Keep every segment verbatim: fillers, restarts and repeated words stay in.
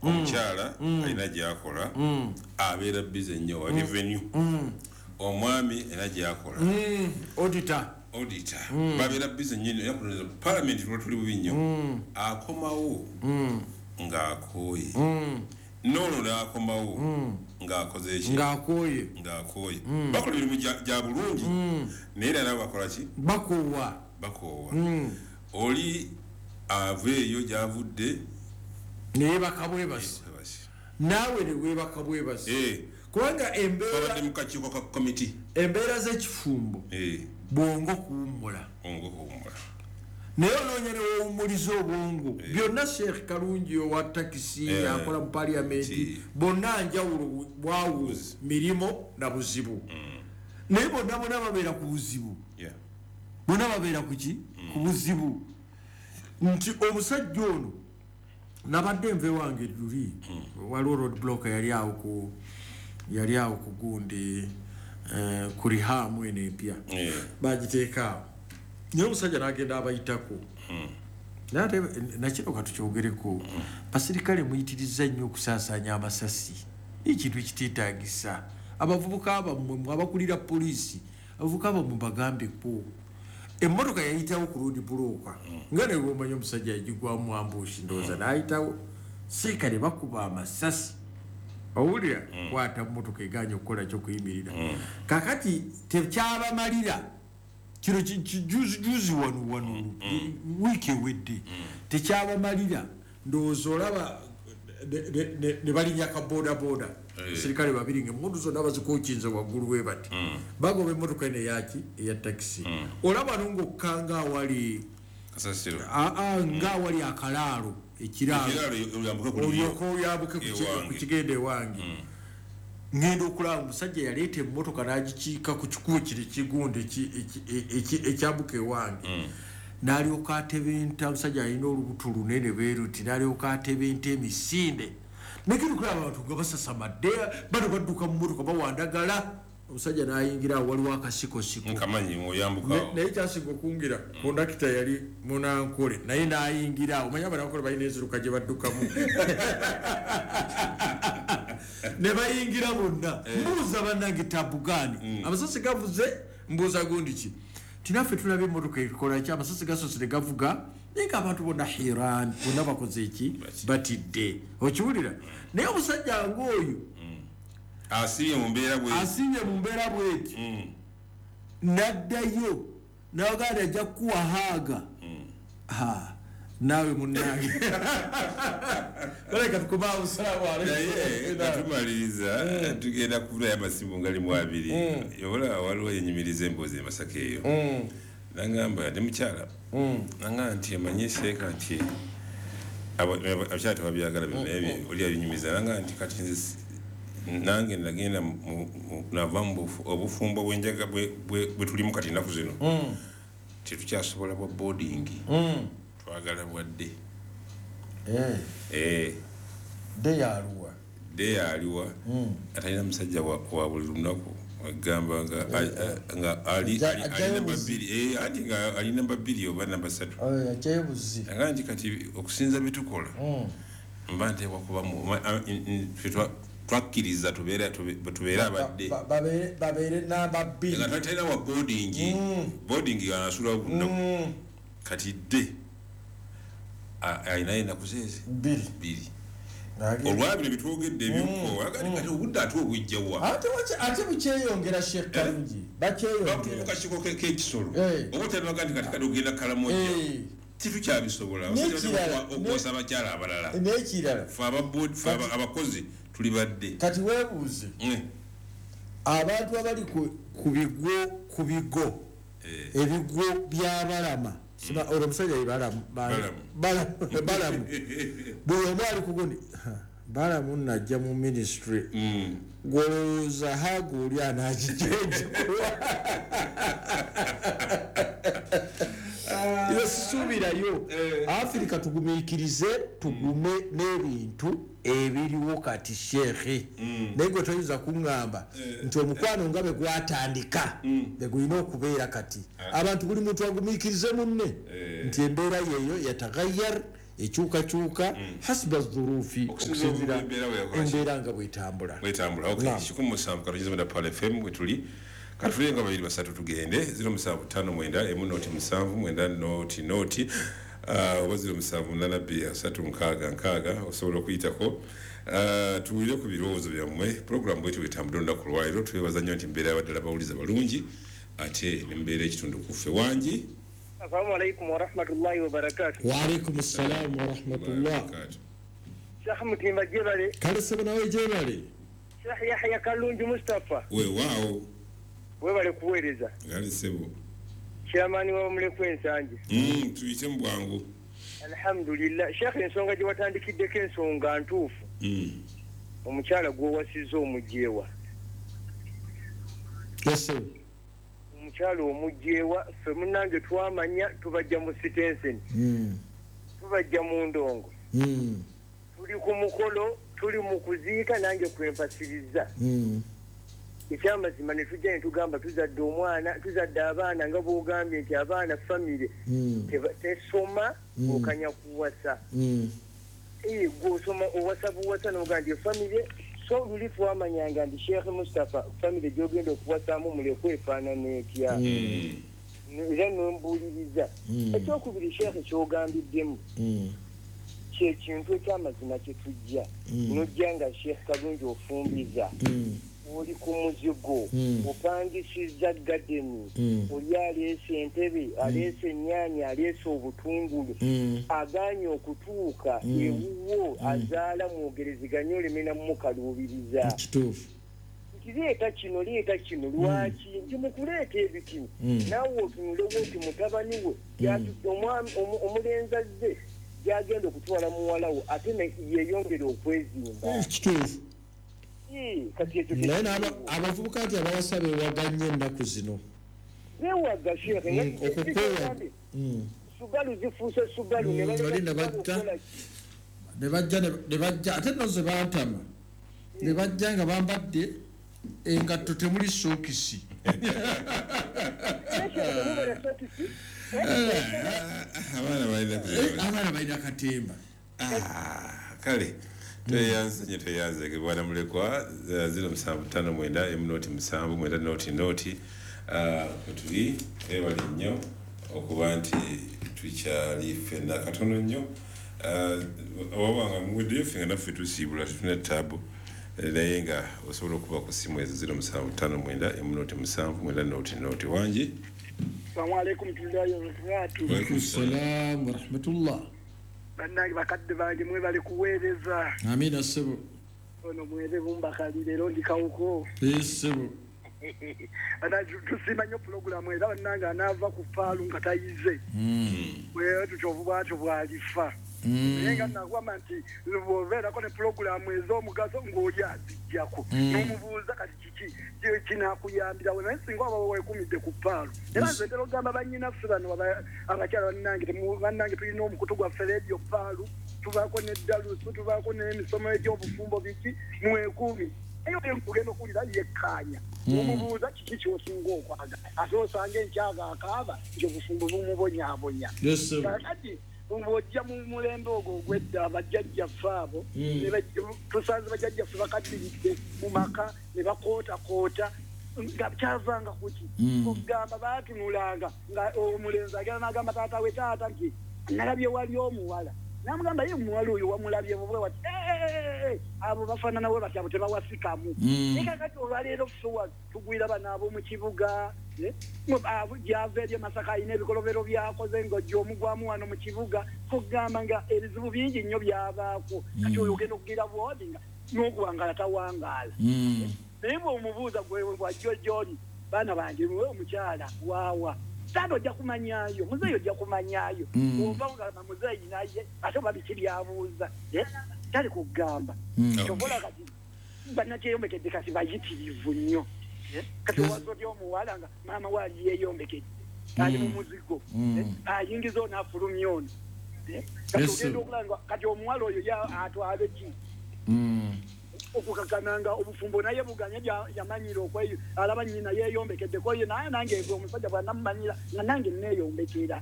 Omukyala alina gyakola, abeera busy nnyo wa revenue. Omwami alina gyakola, auditor. Auditor. Babeera busy nnyo. Parliament lwa tuli bubi nnyo, akomawo ng'akooye, noono n'akomawo ng'akoze eki? Ng'akooye. Ng'akooye. Bakola emirimu gya- gya bulungi, naye era nabo bakola ki? Bakoowa. Bakoowa. Oli ava eyo gy'avudde, neyebaka bwebasi, naawe ne weebaka bwebasi, Eh, kubanga embeera babadde mu kakiiko ka komiti. Embeera z'ekifumbo, Eh, bwongo kuwummula. Ongo kuwummula. Naye onoonya ne wowummuliza obwongo byonna. Sheekh Kalungi owa takisi, Eh. akola mu paliamenti, Ki. bonna njawulo bwawu mirimu na buzibu, naye bonna bonna babeera ku buzibu. Yeah. Bonna babeera ku ki? Ku buzibu. Nti omusajja ono, nabadde nve wange luli, waliwo road block yali awo ku yali awo ku gundi, eh, ku Rihamu eno empya, Eh. bagiteeka awo, naye omusajja n'agenda abayitako. Naye ate nakino katukyogereko, basirikale muyitiriza nnyo okusaasaanya amasasi, ekintu ekiteetagisa. Abavubuka bammwe, mwe abakulira poliisi, abavubuka bammwe bagambeko. Emmotoka yayitawo ku road block, nga naye bwomanyi omusajja yagigwamu ambush, ndowooza n'ayitawo, seeka ne bakuba amasasi. Owulira kwata mmotoka eganye okukola kyokuyimirira. Kakati tekyabamalira kino ki- ki- juzi juzi wano wano, wiiki ewedde, tekyabamalira. Ndowooza olaba ne- ne- ne- ne balinya ka bodaboda, sirikale babiri nga emundu zonna bazikokinze waggulu bwe bati, bagoba emmotoka eno eyaki, eya takisi. Olaba no ngaokkanga awali Kasasiro. Aa, nga awali akalaalo, ekiraalo. Ekiraalo, oyambuke ku lulyo. Olyoka oyambuke ku ki- Ewange. ku kigenda ewange. Ngenda okulaba omusajja yaleeta emmotoka n'agikiika ku kikubo kiri kigundi eki- eki- eki- ekyambuka ewange, n'alyoka atebenta. Omusajja alina olubuto lunene bweruti, n'alyoka atebenta emisinde. Negenda okulaba abantu nga basasamadde, bano badduka mu mmotoka bawandagala, omusajja n'ayingira awo waliwo akasikosiko. Nkamanyi oyambuka. Ne- naye kyasinga okungira, kondakita yali munankole, naye nayingira awo. Omanyi abanankole balina enziruka gye baddukamu, ne bayingira bonna. Mbuuza bannange, tabugaani amasasi gavuze? Mbuuza gundi ki, tinaffe tulaba emmotoka ekolaki, amasasi gasoose ne gavuga, naye nga abantu bonna hiran, bonna bakoze eki? Batidde. Okiwulira? Naye omusajja ngaoyo Asibye mu mbeera bwe asinye mu mbeera bweti, naddayo naganda ajja kukuwa haaga. Ha, naawe munange baleka tukumaawo. Salaamu Naye nga aleikum. tumaliriza, tugenda kuvulayo amasimu ngali mu abiri. Ola waliwo yenyumiriza emboozi e Masaka eyo, nangamba ndi mukyala, nangamba nti amanye seeka nti aba- aba- abakyala tebabyagala bino, naye bye- oli abinyumiza, nangamba nti kati nze si- nange nagenda mu- mu- nava mu bufu- obufumbo bwenjaga bwe- bwe bwe tulimu kati ennaku zino, tetukyasobola bwa boarding, twagala bwadde. Eh, De yaluwa? De aliwa atalina musajja wa wa buli lunaku, agamba nga a- nga ali Ajja- ali- ali ajjayo namba buzi. bbiri, eh, anti nga ali namba bbiri oba namba ssatu. Ajjayo buzi. Agamba nti kati okusinza byetukola, mba nteekwa kuba mu- ma- a- n- n- ffe twa- twakkiriza tubeere tube- tubeere abadde. Babeere namba bbiri. Nga talina wa boarding, boarding anasula lunaku. Kati dde a- alinayo ennaku zeezi Bbiri. Bbiri. Olwabino bitwogedde ebyokukoowa, agandi kati obudde ate obujjawa? Ate waki- ate bukyeyongera, Sheekh Kalungi, bakyeyongera. Bakukakiko k'ekisolo, Eh. oba otanaga nti kati kati ogenda Kalamoja, Eh, tetukyabisobola N'ekirala, okwosa abakyala abalala. N'ekirala, Fe aba- fe aba- abakozi tuli badde. Kati weebuuze, Mm. abantu abali ku- ku bigwo ku bigo Eh. ebigwo byabalama, olwo omusajja ye Balamu. Balamu. Balamu, Balamu. Buli omu ali kugundi Balamu najja mu ministry, Mm. gwolowooza haga oli anakijejekuwa? Sisuubirayo. Afirika tugumiikirize, tugume n'ebintu ebiriwo kati, sheekhe. Naye gwe toyinza kuŋŋamba nti omukwano nga bwe gwatandika bwe gulina okubeera kati. Abantu, buli muntu agumiikirize munne nti embeera yeeyo yatagayar. Ekyukakyuka hasba dhurufi, okusinziira embeera nga bwetambula. Bwetambula. Okay, kikumi musanvu katono mwenda Pearl F M wetuli. Katulire nga babiri basatu tugende ziro musanvu ttaano mwenda emu noti musanvu mwenda noti noti oba ziro musanvu munaana bbiri asatu nkaaga nkaaga osobola okuyitako. Uh, tuwulire ku birowoozo byammwe. Pulogulaamu bwetyo bwetambudde olunaku lwaleero. Twebaza nnyo nti mbeera abaddala bawuliza balungi ate ne mbeera ekitundu ku ffe. Wangi. Assalamu alaikum warahmatullahi wabarakatuh. Wa alaikum assalam warahmatullah. Sheikh Mutimba jebale. Kale sebo nawe jebale. Sheikh Yahya Kalungi Mustafa. Weewaawo. Webale kuweereza. Kale sebo. Chairman wa Mulekwa Ensangi. Mm, tuyite mu bwangu. Alhamdulillah. Sheikh ensonga gye watandikiddeko ensonga ntuufu. Mm. Omukyala gw'owasizza omugyewa. Yes sir. Omukyala omugyewa ffe munnange twamanya tubajja mu sitenseni. Mm. Tubajja mu ndongo. Mm. Tuli ku mukolo, tuli mu kuziika nange kwempasiriza. Mm. Ekyamazima ne tujja ne tugamba tuzadde omwana, tuzadde abaana nga bw'ogambye nti abaana famire mm. tesoma mm. okanya kuwasa. Mm. Eh, gw'osoma owasa buwasa n'ogamba nti famire so luli twamanyanga nti Sheikh Mustafa famire gy'ogenda okuwasaamu Mulekwa efaanana etya. Mm. Era n'ombuuliriza. Mm. Ekyokubiri Sheikh ky'ogambiddemu mm. kyekintu ekyamazima kye tujja. Mm. N'ojja nga Sheikh Kalungi ofumbiza. Mm. Oli ku muzigo, mm. opangisizza gadeni, mm. oli aleese entebe, aleese ennyaanya, aleese obutungulu, mm. agaanye okutuuka mm. ewuwo mm. azaala mwogerezeganye oleme namukaluubiriza. Kituufu. Nti leeta kino, leeta kino, lwaki? Nti mu kuleeta ebitino, mm. naawe otunulewo nti mutabani we mm. omulenzi azze gy'agenda okutwala muwala we ate yeeyongere okwezimba. Kituufu. Naye naye abavubuka nti abawasa beewaganye ennaku zino. Beewaga Sheikh, okukwewa. Subalu zifuuse Subalu ne bali ne bajja ne bajja ne bajja ate nno ze bantama ne bajja nga bambadde engatto temuli sookisi. Abaana balina abaana balina katemba. Kale tweyanze nnyo tweyanze bwana Mulekwa. Ziro musanvu ttaano mwenda emu noti musanvu mwenda noti noti wetuli. Ebali nnyo okuba nti tukyali ffenna katono nnyo. Wabanga muweddeyo ffe nga naffe tusiibula tetulina ttaabu, naye nga osobola okuba ku ssimu ezo ziro musanvu ttaano mwenda emu noti musanvu mwenda noti noti. Wangi. Assalamu alaikum warahmatullahi wabarakatuh. Wa alaikum salaam warahmatullah. Bannange bakadde bange mwebale kuweereza. Amiina ssebo. Ono mwere bumbakali leero ndi kawuko. Ssebo. Tusiima nnyo pulogulaamu era bannange anaava ku faalu nga tayize. Mm. Tutyo bwatyo bw'alifa. Mm. Naye nga nagamba nti bw'obeerako ne pulogulaamu ez'omugaso ng'oli aziggyako. Mm. N'omubuuza kati kiki kinaakuyambirawo naye singa oba weekumidde ku ppaalu. Era nze ntera okugamba bannyinaffe bano abakyala bannange bannange tulina omukutu gwaffe leediyo ppaalu, tubaako n'eddalusu, tubaako n'emisomo egy'obufumbo biki, mwekuume. Eyo ogenda okuwulira yekkaanya. Omubuuza kiki ky'osinga okwagala. Ate osanga enkyaga akaaba nti obufumbo bumubonyaabonya. Kaakati bw'ojja mu mulembe ogwo ogw'edda bajjajjaffe abo, tusanze bajjajjaffe bakaddiridde mu maka ne bakootakoota nga kyavanga kuki. Okugamba baatunulanga nga omulenzi agenda n'agamba taata we, taata nti nalabye wali omuwala. Namugamba ye omuwala oyo wamulabye bwe wati abo bafaanana we bati abo tebawasikamu. Naye kaakati olwaleero ffe tugwira bano ab'omu kibuga, gyava eri e Masaka alina ebikolobero by'akoze ng'ojja omugwamu wano mu kibuga, kugamba nga ebizibu bingi nnyo byabaako. Kati oyo ogenda okugira bw'oti nga n'okuwangaala tawangaala. Naye bw'omubuuza gwe bw'ajja gy'oli, baana bange muwe omukyala waawa. Taata ojja kumanyaayo, muzeeyi ojja kumanyaayo. Bw'ova ogamba muzeeyi naye ate oba biki by'abuuza. Tali kugamba. Ky'ova olaba kati bannakyeyombekedde kati bayitirivu nnyo. Kati owasa otya omuwala nga maama we ali yeeyombekedde ali mu muzigo, ayingiza ono afulumya ono. Kati ogenda okulaba kati omuwala oyo atwale ki? Okukakananga obufumbo naye buganye yamanyira okweyo alaba nnyina yeeyombekeddeko ye naye nange omusajja bw'anamumanyira nga nange neeyombekera.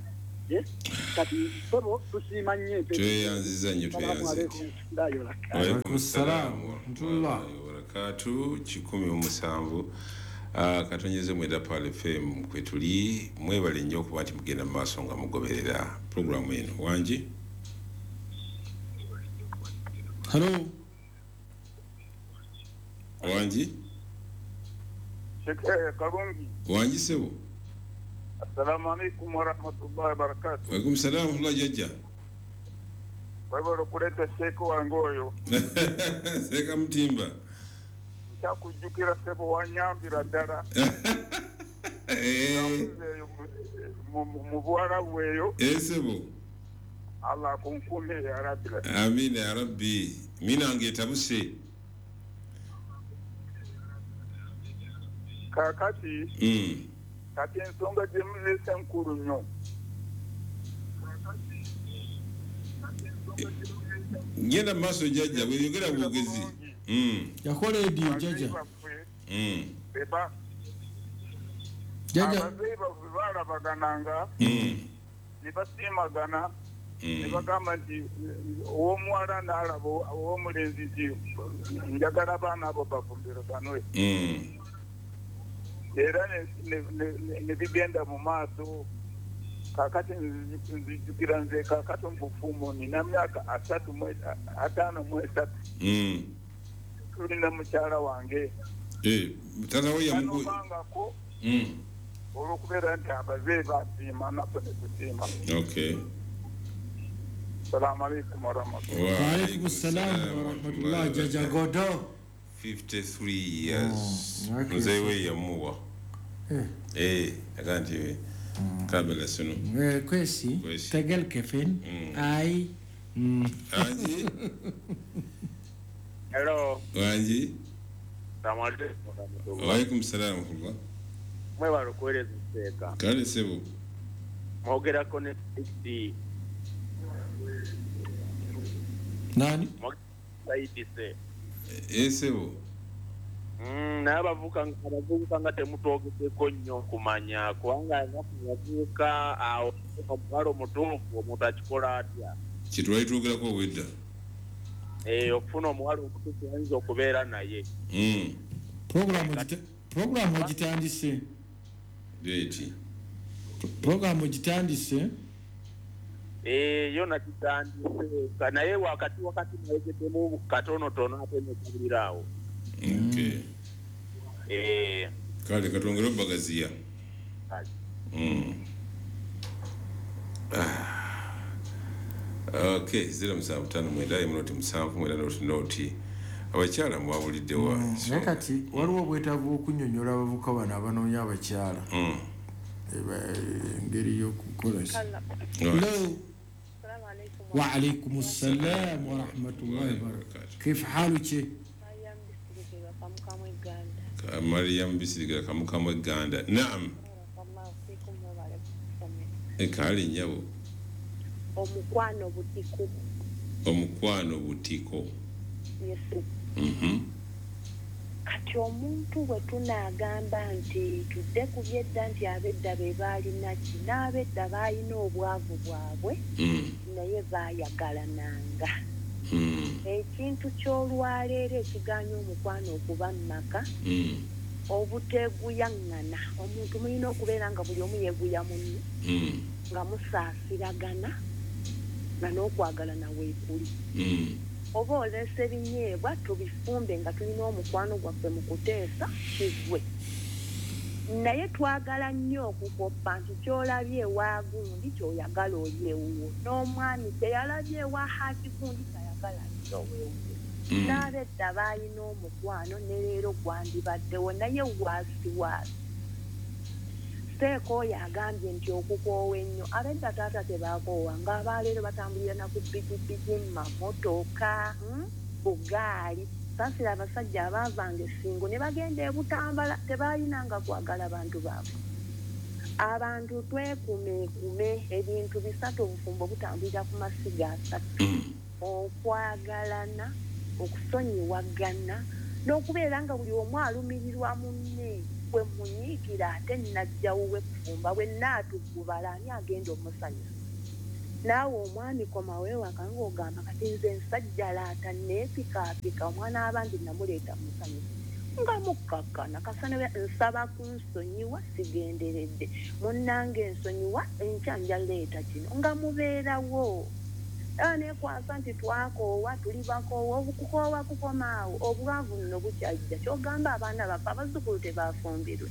Kati sebo tusiima nnyo tweyanziza nnyo tweyanziza. Waalaikum salaam warahmatullahi wabarakatuh. Kikumi mu musanvu katonyeze mwenda Pearl F M kwe tuli. Mwebale nnyo okuba nti mugenda mu maaso nga mugoberera pulogulaamu eno. Wangi? Hello. Wangi? Kalungi. Wangi sebo. Assalamu alaikum warahmatullahi wabarakatuh. Waalaikum salaam warahmatullahi jajja. Webale okuleeta Sheikh wange oyo. Seeka Mutimba. Nkyakujjukira ssebo, wanyambira ddala. Mu Buwarabu eyo. Eh ssebo. Allah akunkume ya Rabbi. Amina ya Rabbi. Mina etabuse. Kaakati. Mm. Kati ensonga gye muleese nkulu nnyo. Ngenda mu maaso jjajja, bweyogera bwogezi. Yakola ediyo jjajja. Jjajja. Abazeeyi baffe baalabagananga ne basiimagana ne bagamba nti ow'omuwala n'alaba ow'omulenzi nti njagala abaana abo bafumbiriganwe. Era ne bigenda mu maaso. Kaakati nzijukira nze kaakati mu bufumbo nina myaka asatu ataano mu esatu. Tulina mukyala wange. Taata we yamugu... Olw'okubeera nti abazeeyi basiima naffe ne tusiima. Okay. Salaamu alaikum warahmatullahi. Wa alaikum salaam warahmatullahi. Jjajja Godo. fifty-three years. Muzeeyi we yamuwa. Eh, akanti kabela sino. Eh, kwesi tegel kefin ai. Anji. Hello. Anji. Assalamu alaikum. Wa alaikum salaam warahmatullah. Mwebale okuweereza Seeka. Kale ssebo. Mwogerako ne Saidi. Nani? Saidi se. Eh ssebo. Mm, naye abavubuka abavubuka nga temutwogeddeko nnyo kumanya kubanga abavubuka awo omuwala omutuufu omuntu akikola atya? Kye twali twogerako obwedda. Eh, okufuna omuwala omutuufu ayinza okubeera naye. Mm. Pulogulaamu ogitandise. Deeti. Pulogulaamu ogitandise. Eh, yo nakitandise naye wakati wakati nayegeddemu katonotono ate nekabulira awo. Okay. Eh. Kale katwongere obagaziya. Mm. Ah. Okay, zero musanvu ttaano mwenda emu noti musanvu mwenda noti noti. Abakyala mwabulidde wa. Naye kati waliwo obwetaavu okunnyonnyola abavubuka bano abanoonya abakyala. Mm. Engeri y'okukola. Hello. Wa alaikum assalam wa rahmatullahi wa barakatuh. Kif haluki? Mariam Bisiriga Kamukamwe Ganda. Naam. Ekali nyabo. Omukwano butiko. Omukwano butiko. Yes. Mhm. Kati omuntu bwe tunaagamba nti tudde ku byedda nti ab'edda be baalina ki n'ab'edda baalina obwavu bwabwe mm. naye baayagalananga. Mm. Ekintu ky'olwaleero ekiganya omukwano okuba mu maka mm. obuteeguyaŋŋana. Omuntu mulina okubeera nga buli omu yeeguya munne mm. nga musaasiragana nga n'okwagalana weekuli. Mm. Oba oleese ebinyeebwa tubifumbe nga tulina omukwano gwaffe mu kuteesa kigwe. Naye twagala nnyo okukoppa nti ky'olabye ewa gundi ky'oyagala oli ewuwo n'omwami teyalabye ewa haaki gundi ky'ayagala ali owewuwo. N'ab'edda baalina omukwano ne leero gwandibaddewo naye waasi waasi. Seeka oyo agambye nti okukoowa ennyo ab'edda taata tebaakoowa ng'abaaleero batambulira na ku pikipiki, mamotoka, bugaali. Saasira abasajja abaavanga essingo ne bagenda e Butambala tebaalinanga kwagala bantu baabwe. Abantu twekumeekume ebintu bisatu obufumbo butambulira ku masiga asatu. Okwagalana, okusonyiwagana n'okubeera nga buli omu alumirirwa munne. Bwe munyiigira ate najjawuwe kufumba bwe naatugubala ani agenda omusanyusa? Naawe omwami komawo ewaka ng'ogamba kati nze nsajjalaata neepikaapika omwana abandi namuleeta musanyusa nga mukkakkana kasana nsaba kunsonyiwa sigenderedde munnange ensonyiwa enkya nja leeta kino nga mubeerawo. Era neekwasa nti twakoowa tuli bakoowa okukoowa kukomaawo obwavu nno bukyajja ky'ogamba abaana baffe abazzukulu tebafumbirwe.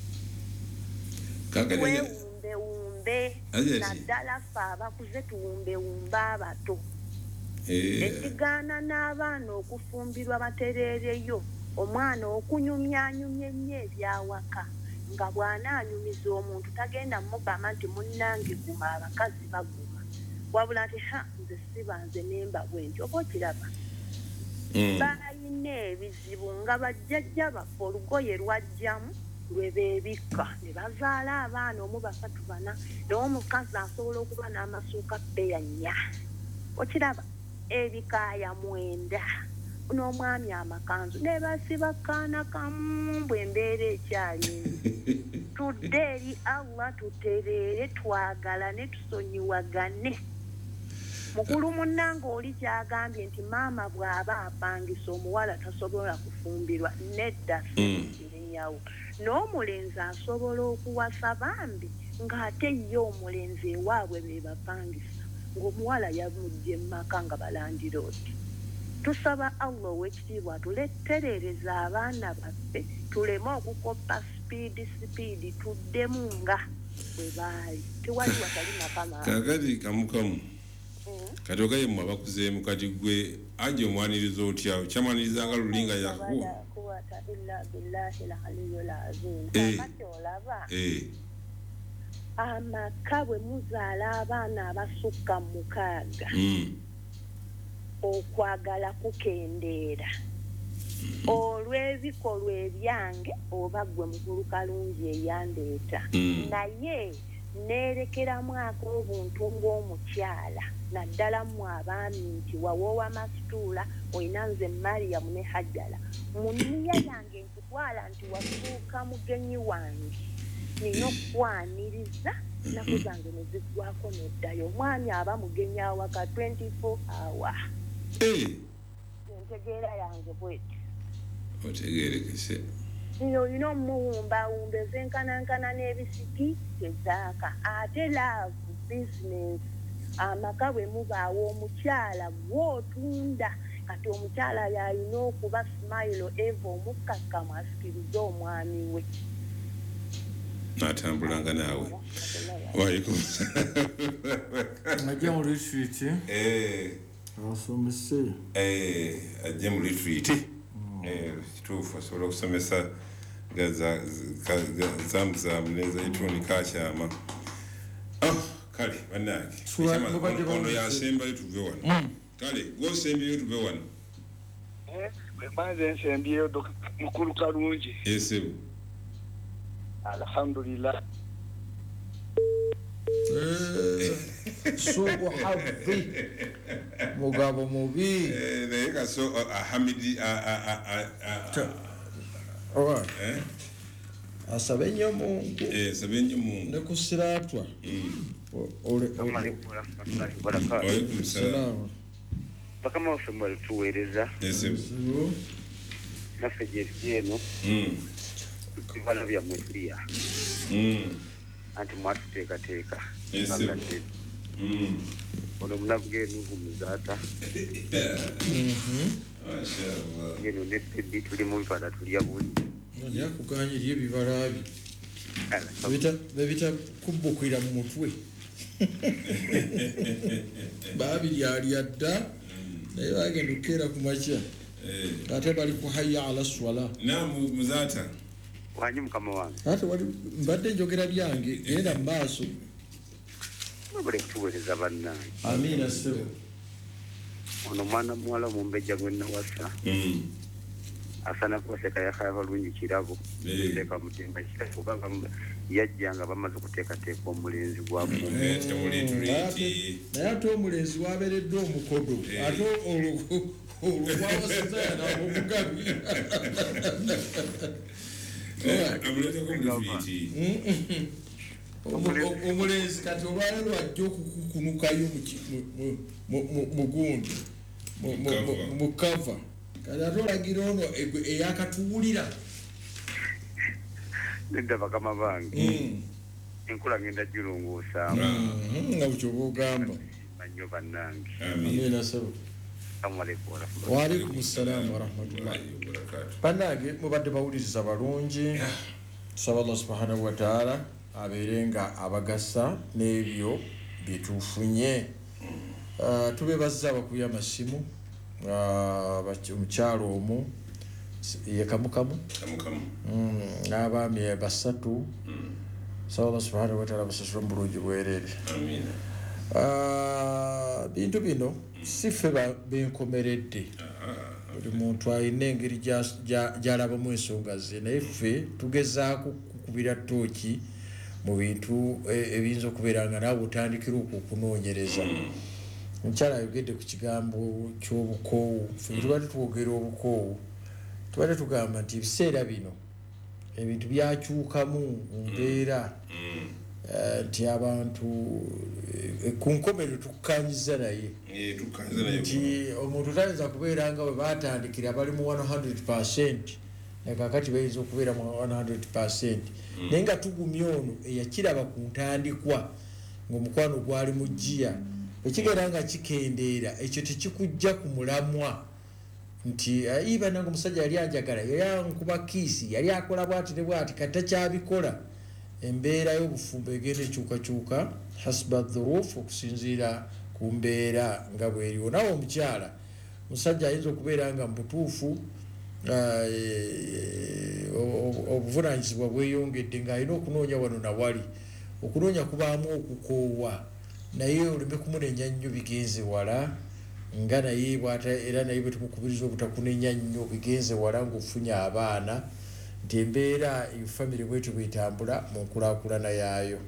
Weewumbewumbe naddala ffe abakuze tuwumbewumbe abato. Ekigaana n'abaana okufumbirwa batereereyo omwana okunyumyanyumya ennyo ebyawaka nga bw'anaanyumiza omuntu tagenda mugamba nti munnange guma abakazi baguma wabula nti ha nze siba nze nemba bwe nti oba okiraba. Balina ebizibu nga bajjajja baffe olugoye lwajjamu lwe beebikka ne bazaala abaana omu basatu bana naye omukazi asobola okuba n'amasuuka bbeya nnya okiraba ebikaaya mwenda n'omwami amakanzu ne basiba kaana kamu bwe embeera ekyali tudde eri Allah tutereere twagalane tusonyiwagane. Mukulu munnange oli kyagambye nti maama bw'aba apangisa omuwala tasobola kufumbirwa nedda sikirinyawo n'omulenzi asobola okuwasa bambi ng'ate ye omulenzi ewaabwe be bapangisa ng'omuwala yamugye mu maka nga balandira oti. Tusaba Allah ow'ekitiibwa tuleterereza abaana baffe tuleme okukoppa sipiidi sipiidi tuddemu nga bwe baali tewali watali makama. Kaakati kamukamu kati ogaye mmwe abakuzeemu kati gwe aje omwaniriza otya okyamwaniriza nga lulinga yakuwa amaka bwe muzaala abaana abasukka mukaaga okwagala kukendeera olw'ebikolwa ebyange oba gwe mukulu Kalungi eyandeeta naye neerekeramu ak'obuntu ng'omukyala naddala mmwe abaami nti wawoowa masituula olina nze Mariam ne Hajjala mu nniya yange nkutwala nti wafuuka mugenyi wange nina okukwaniriza nnaku zange ne ziggwako n'oddayo. Omwami aba mugenyi awaka twenty-four hour. Entegeera yange bw'etyo. Otegeerekese. Olina omuwumbawumba ezenkanankana n'ebisiki tezaaka ate laavu bizinensi amaka bwe mubaawo omukyala gw'otunda kati omukyala y'alina okuba smile eva omukkakkamu asikirize omwami we n'atambulanga naawe. Ajja mu retreat asomese ajja mu retreat kituufu asobola okusomesa zamuzaamu n'ezaituni kakyama. Kale bannange ono yasembayo tuve wano. Kale gw'osembyeyo tuve wano. Mbanze nsembyeyo mukulu Kalungi. Esebo. Alhamdulillah. Suuku hadhi mugabo mubi naye kaso Hamidi asabe nnyo Mungu asabe nnyo Mungu ne ku siraatwa. Bakama waffe mwalituweereza naffe gyeri eno ebibala byammwe tulya anti mwatuteekateeka ono munaku g'enugu muzaata eno ne Teddy tuli mu bibala tulya buli yakuganye eri ebibala byo bebita kubbukira mu mutwe babiryalya dda naye bagenda okukeera ku makya ate bali ku hayya ala swala. Naamu muzaata wanyi mukama wange ate wali mbadde njogera byange genda mu maaso mwebale kutuweereza bannange. Amiina ssebo. Ono mwana muwala omumbejja gwe nawasa asaana kubaseka yakaya balungi kirabo teeka mutemba kirabo kubanga yajja nga bamaze okuteekateeka omulenzi gwafumba naye ate omulenzi wabeeredde omukodo ate olwo gwawasizza yanaba omugabi. Omulenzi kati olwaleero ajja okukukunukayo mu gundi mu kava kati ate olagira ono eyakatuwulira. Nedda bakama bange, enkola ngenda girongoosa nga bw'oba ogamba. Nnyo bannange. Amiina ssebo. Wa alaikum ssalamu warahmatullahi wabarakatuh. Bannange mubadde bawuliriza balungi. Tusaba Allah subhanahu wa ta'ala abeere nga abagasa n'ebyo bye tufunye. Tubeebazza abakubye amasimu, omukyalo omu ye Kamukamu n'abaami basatu. Tusaba Allah subhanahu wa ta'ala abasasule mu bulungi bwereere. Amiina. Bintu bino si ffe benkomeredde, buli muntu alina engeri gy'alabamu ensonga ze, naye ffe tugezaako kukubira ttooki mu bintu ebiyinza okubeera nga naawe otandikira okwo okunoonyereza. Omukyala ayogedde ku kigambo ky'obukoowu. Ffe tubadde twogera obukoowu, tubadde tugamba nti ebiseera bino ebintu byakyukamu mu mbeera, nti abantu ku nkomerero tukkanyiza naye nti omuntu tayinza kubeera nga bwe baatandikira bali mu one hundred percent naye kaakati bayinza okubeera mu one hundred percent, naye nga tugumya ono eyakiraba ku ntandikwa ng'omukwano gwali mu ggiya ekigenda nga kikendeera, ekyo tekikujja ku mulamwa nti iba nange omusajja yali anjagala, yali ankuba kiisi, yali akola bw'ati ne bw'ati, kati takyabikola. Embeera y'obufumbo egenda ekyukakyuka hasba dhurufu, okusinziira ku mbeera nga bw'eriwo. Naawe omukyala, omusajja ayinza okubeera nga mu butuufu obuvunaanyizibwa bweyongedde ng'alina okunoonya wano na wali, okunoonya kubaamu okukoowa, naye oleme kumunenya nnyo bigenze wala, nga naye bw'ata era naye bwe tumukubiriza obutakunenya nnyo bigenze wala ng'ofunye abaana, nti embeera famire bwetyo bwetambula mu nkulaakulana yaayo.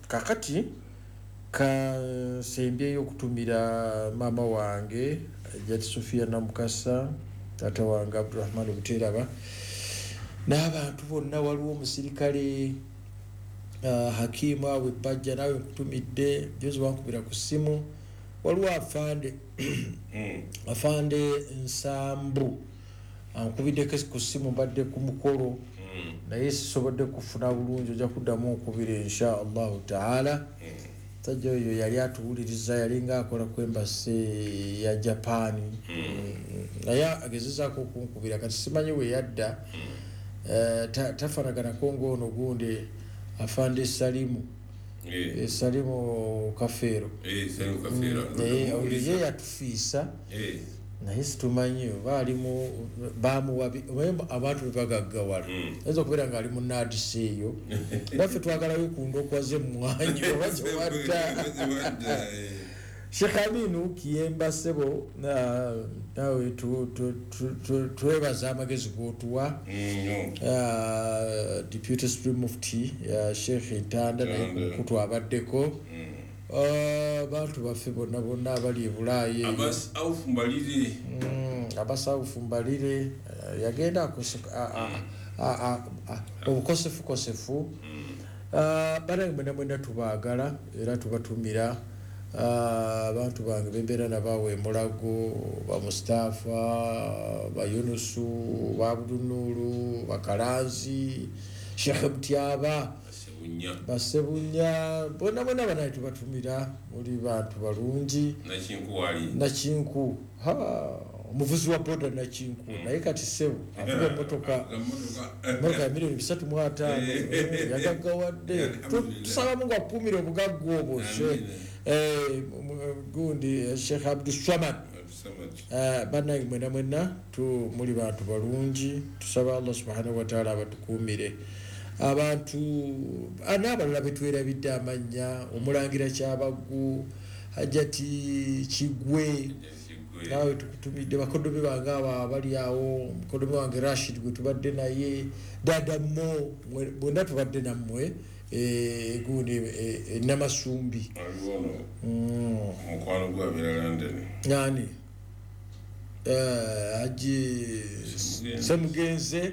Kakati kansembyeyo okutumira maama wange Jati Sofia Namukasa, taata wange Abdurahman Buteraba n'abantu bonna. Waliwo omusirikale Hakimu awe Bajja, naawe nkutumidde, jozi wankubira ku ssimu. Waliwo afande afande Nsambu ankubiddeko ku ssimu, mbadde ku mukolo naye sisobodde kufuna bulungi, ojja kuddamu okubira insha Allahu taala. Musajja oyo yali atuwuliriza, yalinga akola ku embassy ya Japan, naye agezezaako okunkubira kati simanyi we yadda. Tafaanaganako ng'ono gundi afande Salimu, Salimu Kafeero, oyo ye yatufiisa, naye situmanyi oba alimu bamuwa abantu bebagaggawala, ayinza okubeera ng'ali mu naadisi eyo. Naffe twagalayo ku ndokwa z'emmwanyi oba gyewadda. Sheikh Aminu Kiyemba ssebo, naawe twebaza amagezi g'otuwa. Deputy Supreme Mufti Sheikh Ntanda naye ku mukutu abaddeko. Abantu baffe bonna bonna abali e Bulaaya, Abasawufu Mbalire yagenda obukosefukosefu. Bannange mwena mwena tubaagala era tubatumira. Abantu bange bembeera nabaawe Emulago, ba Mustafa, ba Yunusu, ba Abdunuru, Bakalanzi, Sheikh Mutyaba, Basebunya, bonna bonna banaye tubatumira, muli bantu balungi. Nakinku omuvuzi wa boda Nakinku, naye kati ssebo avuga emmotoka emmotoka ya miliyoni bisatu mu ataano yagaggawadde. Tusaba Mungu akuumire obugagga obwo. Gundi Sheikh Abdussamad, bannange mwena mwenna muli bantu balungi, tusaba Allah subhanahu wa ta'ala abatukuumire. Abantu n'abalala betwerabidde amannya, omulangira Kyabaggu, Hajati Kigwe, naawe tukutumidde, bakoddomi bange abo abali awo, mukoddomi wange Rashid gwe tubadde naye, Dada Mo, bonna tubadde nammwe gundi Namasumbi. Omukwano gwabeera London. Nani? Haji Semugenze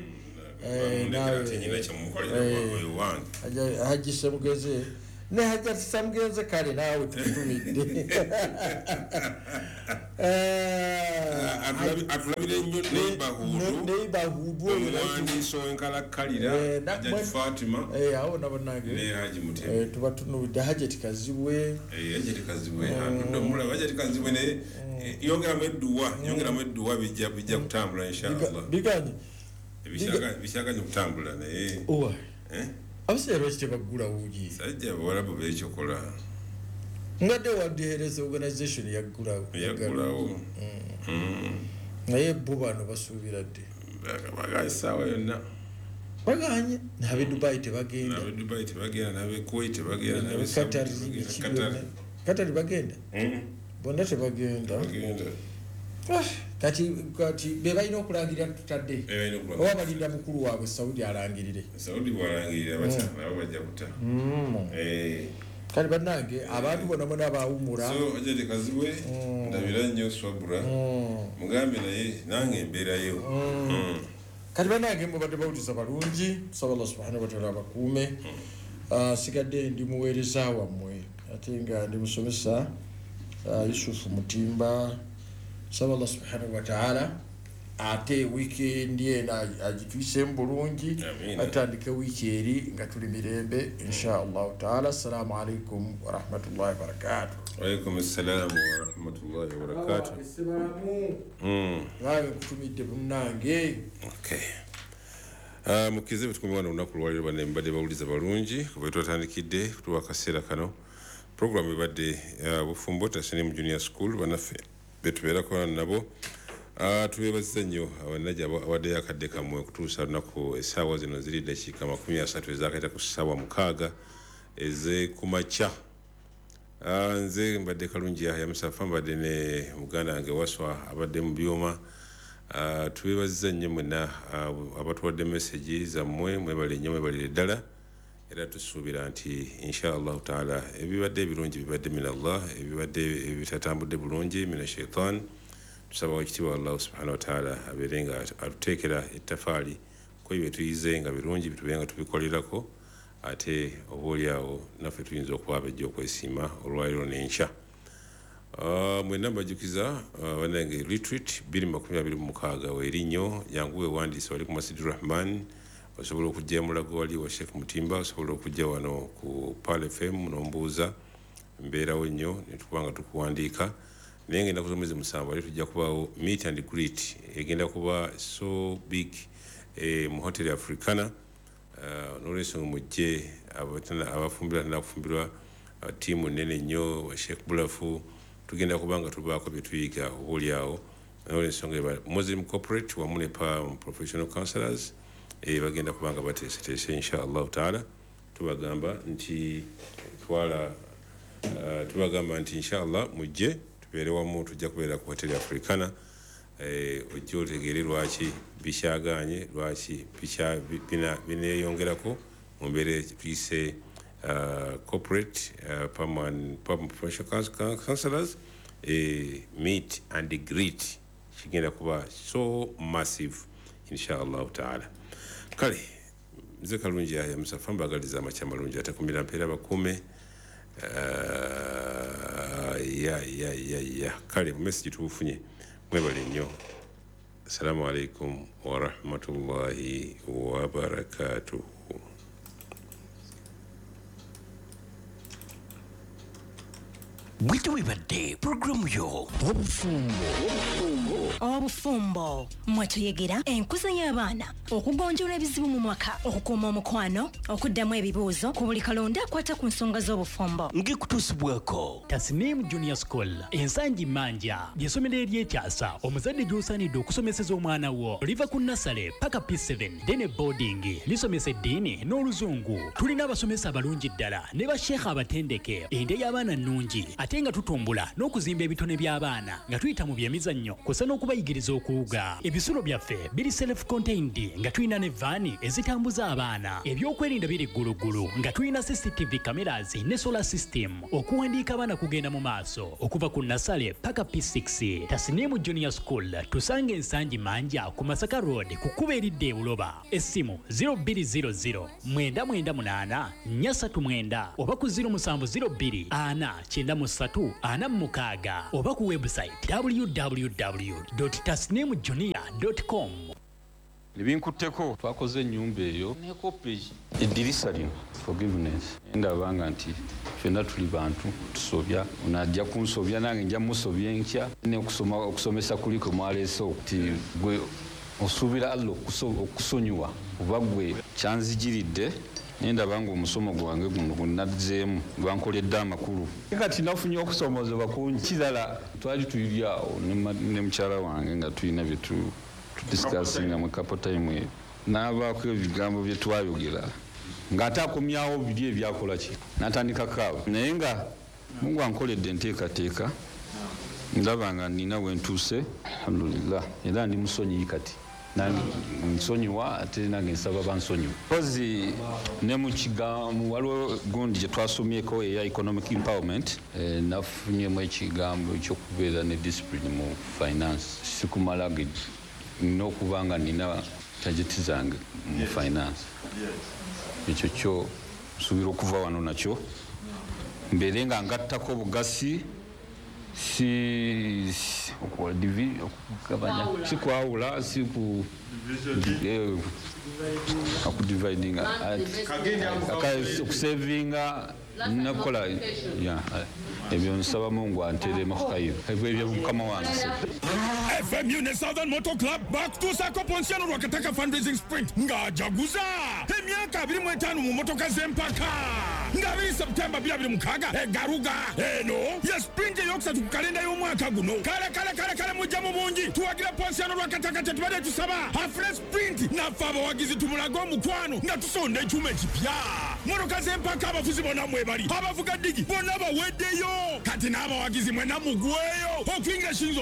Haji Semugeze ne Hajati Semugeze kale naawe tukutumidde. Atulabire nnyo neighborhood neighborhood omuwandiisi ow'enkalakkalira Hajati Fatima awo nabo nange ne Haji Mutebi tubatunulidde Hajati Kazibwe Hajati Kazibwe atudde omulaba Hajati Kazibwe naye yongeramu edduwa yongeramu edduwa bijja bijja kutambula inshallah biganye bisyaganye okutambula naye owa abasajja lwaki tebaggulawo gi sajja abawalabu beekyokola ngadde World Health Organization yaggulawo yaggulawo naye bo bano basuubira dde baganye essaawa yonna baganye n'ab'e Dubai tebagenda n'ab'e Dubai tebagenda n'ab'e Kuwait tebagenda n'ab'e Qatar Qatar bagenda bonna tebagenda kati kati be balina okulangirira tutadde oba balinda mukulu waabwe Saudi alangirire Saudi bw'alangirira batya nabo bajja kuta kale bannange abantu bonna bonna baawummula so Hajati Kazibwe ndabira nnyo Swabura mugambe naye nange embeerayo kati bannange mubadde bawuliza balungi tusaba Allah subhanahu wa ta'ala abakuume. Sigadde ndi muweereza wammwe ate nga ndi musomesa Yusufu Mutimba. Tusaba Allah subhanahu wa ta'ala ate wiikendi eno agituyisemu bulungi atandike wiiki eri nga tuli mirembe insha allahu taala. Assalamu alaikum warahmatullahi wabarakatuh. Waalaikum assalamu warahmatullahi wabarakatuh. Naawe nkutumidde munnange. Mukize betukumye wano olunaku lwaleero banne mbadde bawuliza balungi kuba twatandikidde kutuwa akaseera kano. Programu ebadde Bufumbo Tasnim Junior School bannaffe betubeerako nabo. Tubeebaziza nnyo abannajja awaddeyo akadde kammwe okutuusa lunaku essaawa zino ziri ddakiika makumi asatu ezaakayita ku ssaawa mukaaga ez'ekumakya. Nze mbadde Kalungi Yahya Musafa, mbadde ne muganda wange Waswa abadde mu byuma. Tubeebaziza nnyo mwenna abatuwadde mesegi zammwe, mwebale nnyo, mwebalire ddala. Era tusuubira nti insha allahu taala ebibadde ebirungi bibadde min Allah, ebibadde ebitatambudde bulungi mina shaitan. Tusaba ekitiibwa Allah subhanahu wa ta'ala abeere nga atuteekera ettafaali ko bye tuyize nga birungi bitube nga tubikolerako, ate oba oliawo naffe tuyinza okuba abajja okwesiima olwaleero n'enkya. Mwenna mbajjukiza bannange retreat bbiri makumi abiri mu mukaaga weeri nnyo, jangu weewandiise wali ku Masjid Rahman, osobola okujja Mulago wali wa Sheikh Mutimba, osobola okujja wano ku Pearl F M n'ombuuza, mbeerawo nnyo ne tukuba nga tukuwandiika. Naye ngenda z'omwezi musanvu ali tujja kubaawo meet and greet egenda kuba so big eh, mu Hotel Africana. N'olwensonga mujje abafumbirwa nakufumbirwa ttiimu nnene nnyo Sheikh Bulafu, tugenda kuba nga tubaako bye tuyiga oba oliawo. N'olwensonga eba Muslim corporate wamu ne professional counselors eh, bagenda kuba nga bateeseteese insha allahu taala. Tubagamba nti twala uh, tubagamba nti insha allah mujje tubeere wamu, tujja kubeera ku Hotel Africana. Eh, ojje otegeere lwaki bikyagaanye, lwaki bineeyongerako mu mbeera tuyise uh, corporate uh, professional counselors eh, meet and greet kigenda kuba so massive insha allahu taala. Kale nze Kalungi Yahya Musafa mbagaliza amakya malungi atakumira mpeera bakuume. Uh, ya ya ya ya kale message tubufunye, mwebale nnyo. Assalamu alaikum warahmatullahi wabarakatuh. Bwito webadde programu yo Obufumbo. Obufumbo mwetuyegera enkuza y'abaana, okugonjoola ebizibu mu mwaka, okukuuma omukwano, okuddamu ebibuuzo ku buli kalonda akwata ku nsonga z'obufumbo. Ngekutuusibwako Tasnim Junior School Ensangi Manja ly'essomero ery'ekyasa omuzadde gy'osaanidde okusomeseza omwana wo. Liva ku nasale paka P seven then boarding, lisomesa eddiini n'oluzungu. Tulina abasomesa abalungi ddala ne basheekha abatendeke, endya y'abaana nnungi ate Ate nga tutumbula n'okuzimba ebitone by'abaana nga tuyita mu byemizannyo kw'ossa n'okubayigiriza okuwuga. Ebisulo byaffe biri self contained nga tulina ne vaani ezitambuza abaana. Ebyokwerinda biri gguluggulu nga tulina C C T V cameras ne solar system. Okuwandiika abaana kugenda mu maaso okuva ku nursery paka P six. Tasnimu Junior School tusanga Ensangi Manja ku Masaka Road, ku kkubo eridda e Buloba. Essimu zero bbiri zero zero mwenda mwenda munaana nnya ssatu mwenda oba ku zero musanvu zero bbiri ana kyenda mu ssatu ana mu mukaaga oba ku website W W W tasnimjunior com. Ebinkutteko, twakoze ennyumba eyo nekopa eddirisa lino. Forgiveness, ndabanga nti ffenna tuli bantu, tusobya. Onajja kunsobya, nange nja musobya enkya. Neokusoma, okusomesa kuliko mwaleese nti gwe osuubira Allah okusonyiwa oba gwe kyanzijiridde, naye ndaba nga omusomo gwange guno gwenazzeemu gwankoledde amakulu. Kati nafunye okusomozebwa kungi. Kirala, twali tuli awo ne mukyala wange nga tulina byetu tudiscussinga mu couple time eyo, n'abaako ebigambo bye twayogera ng'ate akomyawo biri ebyakola ki, n'atandika kaaba. Naye nga Mungu ankoledde enteekateeka, ndaba nga nina wentuuse, alhamdulillah, era ndi musonyiyi kati. Nsonyiwa, ate nange nsaba bansonyiwa. Mpozi ne mu kigambo waliwo gundi gye twasomyeko eya economic empowerment, eh, nafunyemu ekigambo ekyokubeera ne discipline mu finance. Sikumala nina okuba nga nina target zange mu finance. Ekyo kyo nsuubira okuva wano nakyo mbeere nga ngattako obugasi, si okugabanya, si kwawula, si ku eh, okudividinga, okusavinga, nakukola ebyo. Nsaba Mungu anteremu khayiro ebyo, mukama wange. F M U ne Southern Motor Club bakutuusaako Ponsiano Lwakataka Fundraising Sprint ng'ajaguza emyaka abiri mu etaano mu motoka z'empaka, nga abiri Septemba twenty twenty-six egaruga. Eno ye sprint eyokusatu ku kalenda y'omwaka guno. Kale kale kale kale, mujja mu bungi tuwagira Ponsiano Lwakataka. Tetubadde tusaba afune sprint, naffe abawagizi tumulage omukwano nga tusonda ekyuma ekipya. Motoka z'empaka, abafuzi bonna mwebali, abavuga ddigi bonna baweddeyo. Kati n'abawagizi mwenna mugweyo okuyingira shilingi.